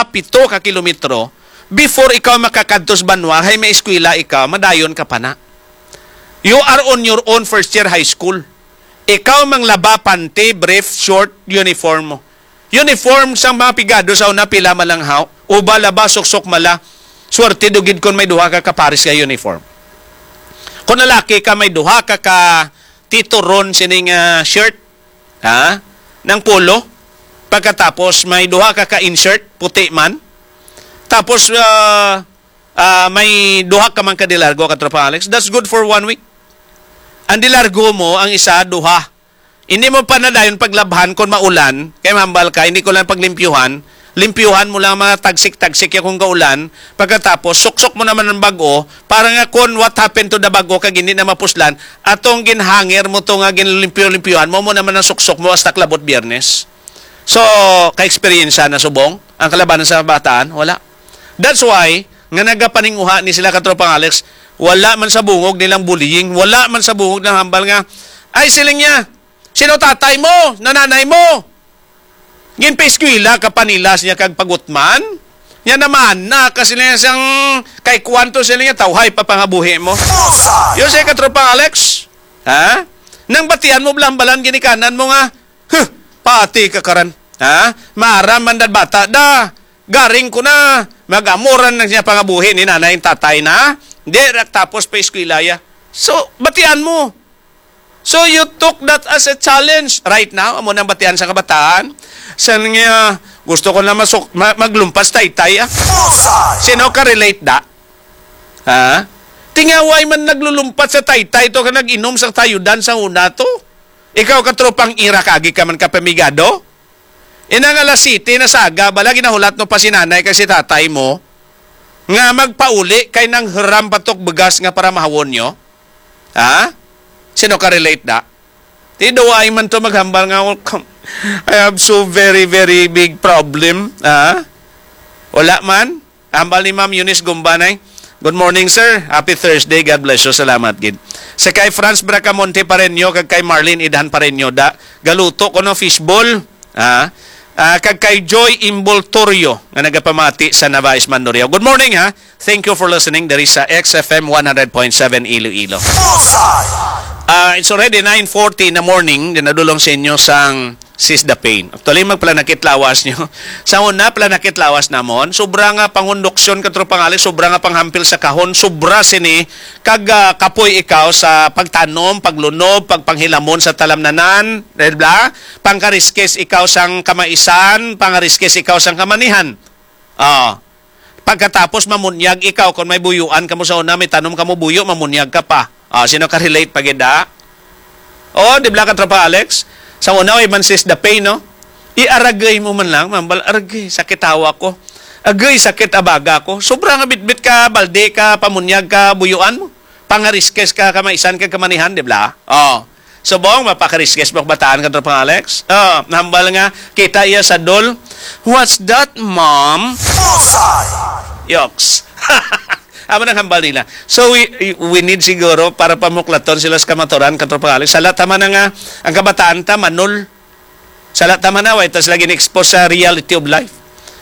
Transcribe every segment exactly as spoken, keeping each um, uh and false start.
pito ka kilometro before ikaw makakadto sa banwa, hay may eskwela ikaw, madayon ka pa na. You are on your own first year high school. Ikaw manglaba panty, brief, short, uniform mo. Uniform sang mga pigado sa una, pila malanghaw, uba laba, suksok mala. Swerte do gid kon may duha ka kapares nga uniform. Kung lalaki ka, may duha ka ka tituron sining, ah, shirt, ha? Nang polo. Pagkatapos, may duha ka ka inshirt, puti man. Tapos, ah, ah, may duha ka man ka de largo, Katropang Alex. That's good for one week. Ang de largo mo, ang isa, duha. Hindi mo pa na dayon paglabhan kung maulan, kay mahambal ka, hindi ko lang paglimpyuhan. Limpyuhan mo lang mga tagsik-tagsik ya kung kaulan. Pagkatapos, suksok mo naman ang bag-o, para nga kung what happened to the bag-o, kag hindi na mapuslan, atong ginhanger mo to nga ginlimpyo-limpyuhan mo, mo naman ang suksok mo hasta klabot Biyernes. So, ka-eksperyensya na subong ang kalabanan sa bataan? Wala. That's why, nga nagapaninguha ni sila, Katropang Alex, wala man sa bungog nilang bullying, wala man sa bungog nilang hambal nga, ay, siling niya, sino tatay mo, nananay mo? Ginpaeskwela ka pa nila siya kag pagutman? Nya naman na ka sila sang kay kwanto sila nga tawhay pa pangabuhi mo. Yo, say, Katropang Alex, ha? Nang batian mo, blambalan ginikanan mo nga, huh, pati ka karan, ha? Maaram man dad bata da, garing ko na, mag-amuran na siya pangabuhi ni nanay tatay na, di ra tapos pa eskwela ya. So, batian mo. So you took that as a challenge. Right now, amo nang batian sa kabataan. Sa nga, gusto ko na masuk-, ma-, maglumpas taytay, ah. Sino ka relate da? Ha? Tingaway man naglulumpat sa taytay to ka nag-inom sa tayudan sa una to. Ikaw, Katropang Ira, kagi ka man ka pamigado? Ina nga alas siyete na saga, bala ginahulat no pa si nanay kag si tatay mo nga magpauli kay nang hiram patok bugas nga para mahawon nyo? Ha? Sino ka relate da? Ti duway man to maghambal nga, "Oh, I have so very, very big problem." Ha? Wala man. Hambal ni Ma'am Eunice Gumbanay. Good morning, sir. Happy Thursday. God bless you. Salamat gid. Sa kay Franz Bracamonte Pareño kag kay Marlene Idhan Pareño, da, galuto ko no fishball. Ah, ah, kag kay Joy Imboltorio nga nagapamati sa Navais, Mandurriao. Good morning, ha. Thank you for listening. There is a X F M one hundred point seven Iloilo. Ah, it's already nine forty in the morning. Di nadulong sa inyo sang Seize the Pain. Actually, magpalanakit lawas nyo. Sa una, palanakit lawas namon. Sobra nga pangunduksyon, Katropang Alex, sobra nga panghampil sa kahon, sobra sini, kag, ah, kapoy ikaw sa pagtanom, paglunob, pagpanghilamon sa talamnanan, di ba? Pangkariskis ikaw sang kamaisan, pangariskis ikaw sang kamanihan. Ah. Pagkatapos mamunyag ikaw, kung may buyuan kamo sa una, may tanom kamo buyo, mamunyag ka pa. Ah, sino ka relate pa gid, ah? Oh, di ba, Katropang Alex? Sa una, way man seize the pain, no? Iaragay mo man lang, mambal, "Aragay, sakit hawa ko. Agay, sakit abaga ko." Sobra nga bitbit ka, balde ka, pamunyag ka, buyuan mo. Pangariskis ka, kamaisan ka, kamanihan, di ba? Oh. Subong, mapakariskis mo bataan, Katropang Alex? Oh, nambal nga, kita iya sa dol. "What's that, Mom?" Bullseye! Yoks. Amo nang hambal nila. So, we, we need siguro para pamuklaton sila sa kamaturan, Katropang Alex. Sala ta man nga, ang kabataan ta, manol. Sala ta man na, way ta sila gin-expose sa reality of life.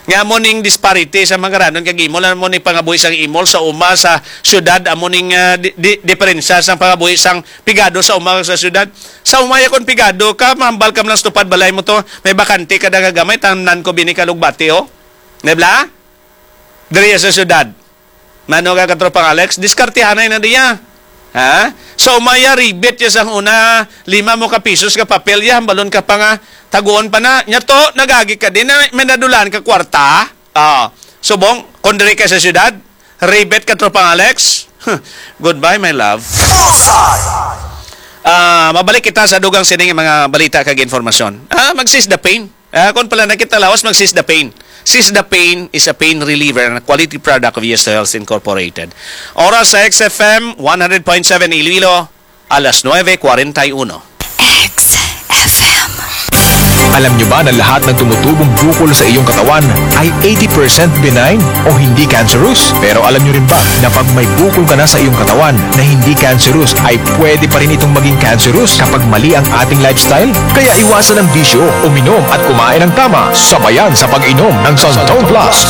Nga amo ning disparity sa mga ranon kag imol, amo ning pangabuhi sang imol sa uma, sa syudad, amo ning, ah, di, di, diferensya sang pangabuhi sang pigado sa uma kag sa syudad. Sa uma, ya kon pigado ka, mahambal ka man lang sa tupad balay mo to, may bakante ka da nga gamay, tanan ko bini ka lugbati, oh. Di ba? Diri sa syudad. Mano ka, Katropang Alex? Diskartihanay na diya. Ha? So, maya ribit ya sang una, lima mo ka pisos ka papel ya, balon ka pa nga, taguon pa na. Nya to, nagagi ka din, na may nadulaan ka kwarta. Ah, subong, kung diri ka sa syudad, ribit, Katropang Alex. Goodbye, my love. Ah, mabalik kita sa dugang sining mga balita kag informasyon. Ah, mag-seize the pain. Ah, kung pala nakita lawas, mag-seize the pain. Seize the Pain is a pain reliever and a quality product of Yes to Health Incorporated. Oras sa X F M one hundred point seven Iloilo, alas nuebe cuarenta y uno. X F M. Alam nyo ba na lahat ng tumutubong bukol sa iyong katawan ay eighty percent benign o hindi cancerous? Pero alam nyo rin ba na pag may bukol ka na sa iyong katawan na hindi cancerous, ay pwede pa rin itong maging cancerous kapag mali ang ating lifestyle? Kaya iwasan ang bisyo, uminom at kumain ng tama, sabayan sa pag-inom ng Santon Plus.